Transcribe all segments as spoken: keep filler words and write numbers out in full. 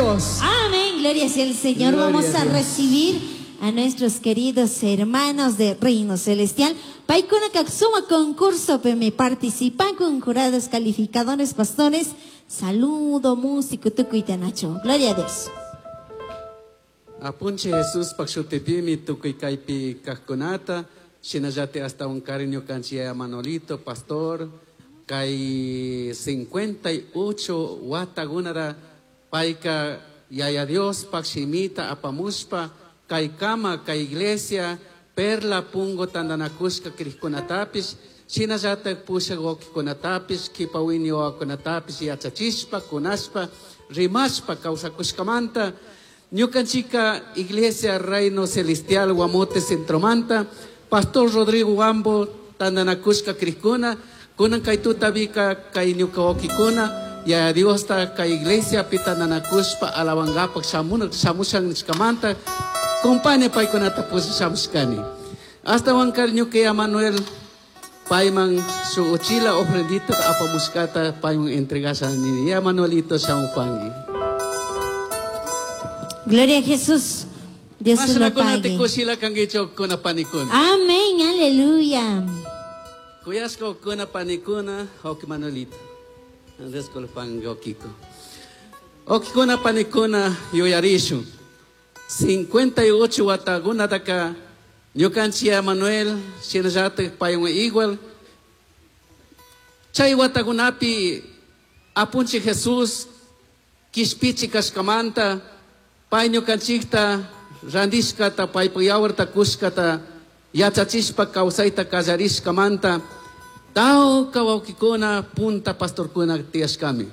Dios. Amén, gloria sea el Señor. Gloria Vamos a a Dios. recibir a nuestros queridos hermanos de Reino Celestial. Paikuna kaksuma concurso peme participan con jurados calificadores, pastores. Saludo, músico, tukuitanacho. Gloria a Dios. Apunche Jesús pakshutipimi tukuy kaypi kaqkunata shinallati hasta un cariño kanchia Manolito pastor kay cincuenta y ocho watagunara payka yaya Dios pakshimita apamushpa kay kama kay iglesia perla pungo tandanakushka krishkunatapis shinallata pushagokikunatapis kipawini wawakunatapis yachachishpa kunashpa rimashpa kawsakushkamanta. Ñukanchika Iglesia Reino Celestial Guamote Centromanta, Pastor Rodrigo Wambo, Tandanakushka Krishkuna, Kunan Kaituta Vika Kay Ñuka Ya Dios ta kay Iglesia Pitandanakushpa Alabangapak Shamun Shamushan Nishkamanta, Compane Paikunata Pusa Shamushkani. Hasta Wankar Ñuka Manuel Paiman su uchila ofrendita apamushkata Paiman entregasha ni ya Manuelito Shamupangi. Gloria a Jesús. Dios se lo pague. Amén, aleluya. Kuyasco kuna panikuna, ok Manuelito. Andrés Colpango Kiko. Ok kuna panikuna yoyarishu. cincuenta y ocho wataguna daka. Ñukanchia Manuel, shinallate payun igual. Chay watagunapi apunchi Jesús, kishpichi kashkamanta. Pay ñukanchikta randishkata paypa yawarta kushkata yachachishpa kawsayta kallarishkamanta tawka wawkikuna punta pastorkuna tiyashkami.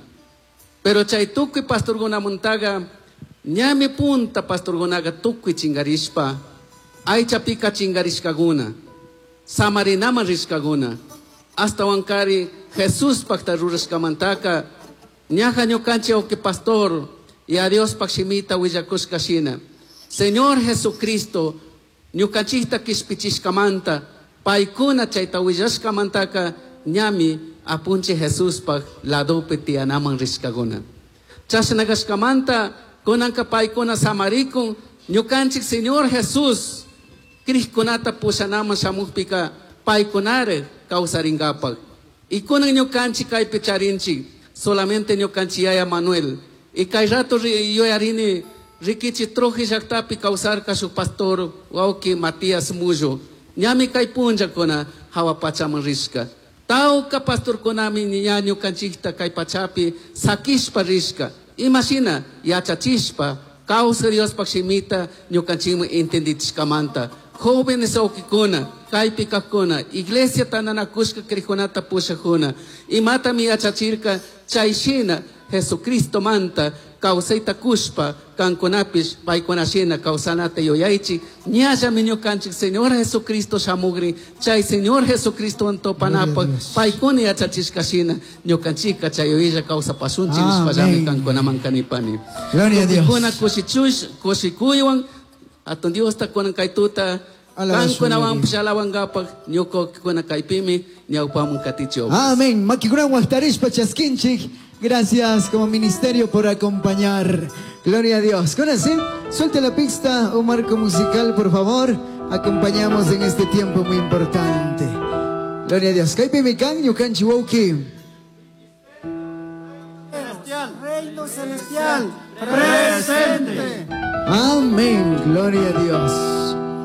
Pero chay tukuy pastorkunamuntaqa ñami punta pastorkunaqa tukuy chingarishpa aychapika chingarishkakuna samarinaman rishkakuna hasta wankari Jesuspaqta rurashkamantaka ñaja ñukanchik wawki pastor y a Dios pakshimita willakushka shina. Señor Jesucristo, ñukanchikta kishpichishkamanta, paykuna chayta willashkamantaka ñami apunchi Jesuspaq ladopi tiyanaman rishkakuna. Chashnakashkamanta kunanka paykuna samarikun ñukanchik Señor Jesús krishkunata pushanaman shamukpika paykunare kawsarinkapak. Y kunan ñukanchik kaypi charinchik solamente ñukanchik yaya Manuel. Y kay rato yoyarini rikichi troji llaqtapi kawsarka shuk pastor wawki Matías Mullo. Ñami kay punllakuna hawa pachaman rishka. Tawka pastorkunami ña ñukanchikta kay pachapi sakishpa rishka. Imashina yachachishpa kawsar Diospaq shimita ñukanchikman entendichishkamanta. Jóvenes wawkikuna, kaypi kaqkuna, iglesia tandanakushka kriykunata pushakuna. Imatami yachachirka chayshina Jesucristo manta kawsayta kushpa kankunapish paykunashina kawsanata yuyaychik ñallami ñukanchik Señor Jesucristo shamugrin chay Señor Jesucristo antopanapaq paykuna yachachishkashina ñukanchikka chay yuyaylla kawsapasunchik nishpallami kankunaman kanipani. Gloria a Dios. Tukukuna kushichush kushikuywan atun Diosta kunan kaytuta kankunawanpish alawankapak ñukakuna kaypimi ñawpamun katichio. Amén. Makikunan waqtarishpa chaskinchik. Gracias como ministerio por acompañar. Gloria a Dios. Con así, suelte la pista, un marco musical, por favor. Acompañamos en este tiempo muy importante. Gloria a Dios. Kaypi mikan ñukanchik wawki. Celestial, Reino Celestial, presente. Amén. Gloria a Dios.